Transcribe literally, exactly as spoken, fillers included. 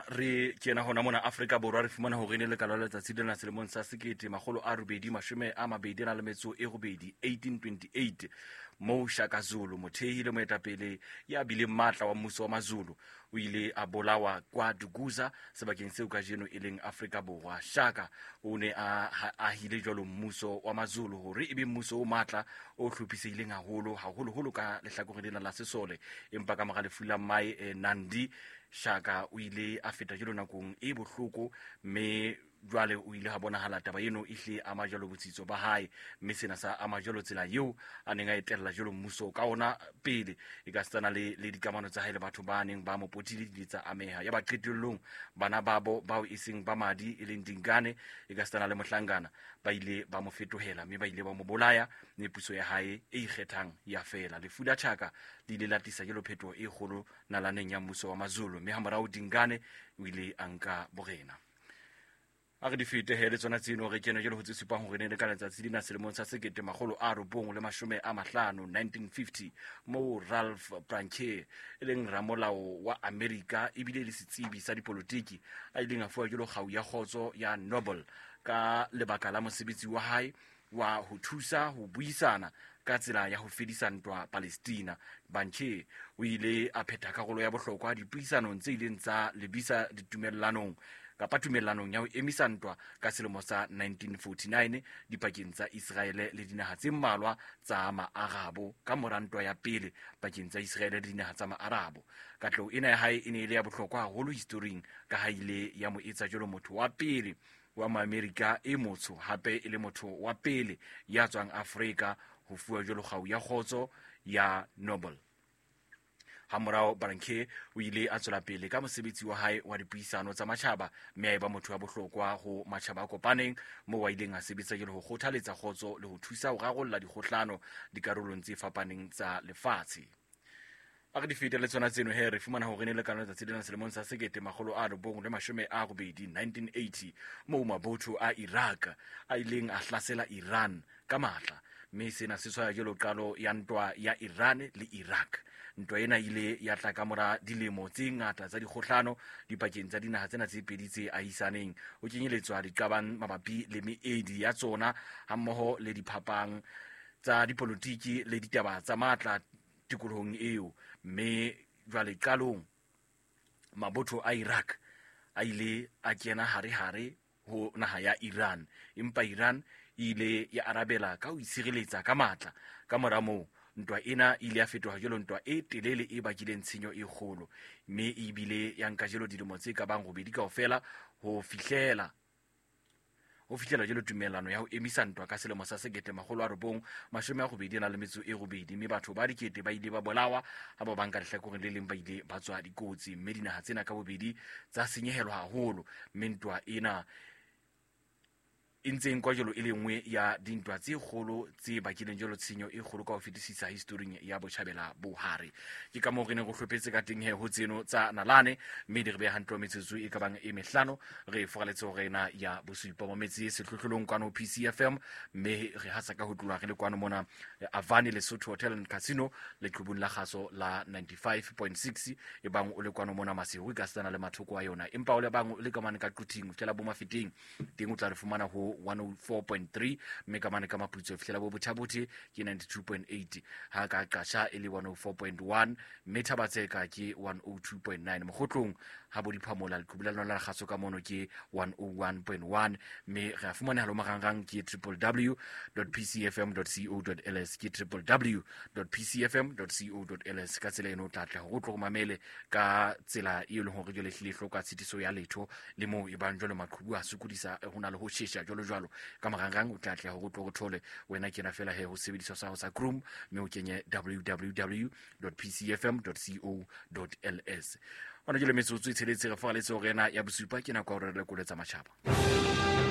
Ha re kena hona mona Afrika Borwa, re fumana hore ne le ka lona letsatsi lena selemong sa sekete makgolo a robedi mashome a mabedi a na le metso e robedi, eighteen twenty-eight, moo Shaka Zulu, mothehi le moetapele ya bileng matla wa mmuso wa Mazulu, o ile a bolawa kwa Dukuza, sebakeng seo kajeno e leng Afrika Borwa. Shaka o ne a ahile jwalo mmuso wa Mazulu hore e be mmuso o matla o hlophisehileng haholo, haholoholo ka lehlakoreng lena la sesole. Empa ka mora lefu la mmae, eh, Nandi, Shaka o ile a feta jwalo nakong e bohloko, mme jwale o ile ha bonahala taba eno e hle ama jwalo botsitso ba hae, mme sena sa ama jwalo tsela eo a neng a etella jwalo mmuso ka ona pele, e ka setsana le, le dikamano tsa hae le batho ba neng ba mo potile di ile tsa ameha. Ya ba qetellong bana babo bao e seng ba madi e leng Dingane, e ka setsana le Mohlangana, ba ile ba mo fetohela mme ba ile ba mo bolaya, mme puso ya hae e ikgethang ya fela. Lefu la Shaka le ile la tlisa jwalo phetoho e kgolo nalaneng ya mmuso wa Mazulu, mme hamorao Dingane o ile a nka borena. A re di fete he le tsona tseno, re kene jwalo ho tse supang hore ne le ka letsatsi lena selemong sa sekete makgolo a robong le mashome a mahlano, nineteen fifty, moo Ralph Branche e leng ramolao wa Amerika ebile le setsebi sa dipolotiki a ileng a fuwa jwalo kgau ya kgotso ya Nobel ka lebaka la mosebetsi wa hae wa ho thusa ho buisana ka tsela ya ho fedisa ntwa Palestina. Branche o ile a phetha karolo ya bohlokwa dipuisanong tse ileng tsa lebisa ditumellanong kapa tumellanong ya ho emisa ntwa ka selemo sa nineteen forty-nine dipakeng tsa Israele le dinaha tse mmalwa tsa Maarabo ka mora ntwa ya pele pakeng tsa Israele le dinaha tsa Maarabo. Katleho ena ya hae e ne e le ya bohlokwa haholo historing ka ha ile ya mo etsa jwalo motho wa pele wa Maamerika e motsho, hape e le motho wa pele ya tswang Afrika ho fuwa jwalo kgau ya kgotso ya Nobel. Hamorao Branche o ile a tswela pele ka mosebetsi wa hae wa dipuisano tsa matjhaba, mme a eba motho wa bohlokwa ho matjhaba a kopaneng, moo a ileng a sebetsa jwalo ho kgothaletsa kgotso le ho thusa ho rarolla dikgohlano dikarolong tse fapaneng tsa lefatshe. A re di fete le tsona tseno he, re fumana hore ne le ka letsatsi lena selemong sa sekete makgolo a robong le mashome a robedi, nineteen eighty, moo mabotho a Iraq a ileng a hlasela Iran ka matla, mme sena se tshwaya jwalo qalo ya ntwa ya Iran le Iraq. Ntwa ena ile ya tla ka mora dilemo tse ngata tsa dikgohlano dipakeng tsa dinaha tsena tse pedi tse ahisaneng, ho kenyeletswa diqabang mabapi le meedi ya tsona hammoho le diphapang tsa dipolotiki le ditaba tsa matla tikolohong eo. Mme jwale qalong mabotho a Iraq a ile a kena hare-hare ho naha ya Iran, empa Iran e ile ya arabela ka ho itshireletsa ka matla. Ka mora moo ntwa ena e ile ya fetoha jwalo ntwa e telele e bakileng tshenyo e kgolo, mme e bile ya nka jwalo dilemo tse ka bang robedi kaofela ho fihlela ho fihlela jwalo tumellano ya ho emisa ntwa ka selemo sa sekete makgolo a robong mashome a robedi a na le metso e robedi, mme batho ba dikete ba ile ba bolawa ha ba bang ka lehlakoreng le leng ba ile ba tswa dikotsi, mme dinaha tsena ka bobedi tsa senyehelwa haholo. Mme ntwa ena e ntse e nkwa jwalo e le nngwe ya dintwa tse kgolo tse bakileng jwalo tshenyo e kgolo ka ho fetisisa historing ya Botjhabela Bohare. Ke ka moo re neng re hlophetse ka teng he ho tseno tsa nalane, mme di re beha hantle metsotso e ka bang e mehlano re foraletse hore ena ya bosupa mo metse sehlohlolong kwano P C F M, mme re hasa ka ho tloha re le kwano mona Avani Lesotho Hotel and Casino leqhubung la kgaso la ninety-five point six, e bang o le kwano mona Maseru e ka setsana le mathoko a yona, empa o le bang o le ka mane ka Quthing ho fihlela bo Mafeteng teng o tla re fumana ho one oh four point three, mme ka mane ka Maputsoe fihlela bo Bothabothe ke ninety-two point eight, ha ka Qasha e le one oh four point one, mme Thabatseka ke one oh two point nine, Mokgotlong ha bo Diphamola leqhubu la lona la kgaso ka mono ke one oh one point one, mme re a fumaneha lo marangrang ke triple w dot p c f m dot co dot l s, ke triple w dot p c f m dot co dot l s. Ka tsela eno o tla tla hore o tlo mamele ka tsela e leng hore jwale ehlile e hloka tshitiso ya letho, le moo e bang jwale maqhubu a sokodisa ho na le ho shesha jwalo jwalo. Ka marangrang o tla tla hore o tlo re thole wena kena fela he ho sebediswa sa hao sa Chrome, mme o kenye w w w dot p c f m dot co dot l s. Hona jwale metsotso e tsheletse re foraletse hore ena ya bosupa ke nako ya hore re lekole tsa matjhaba.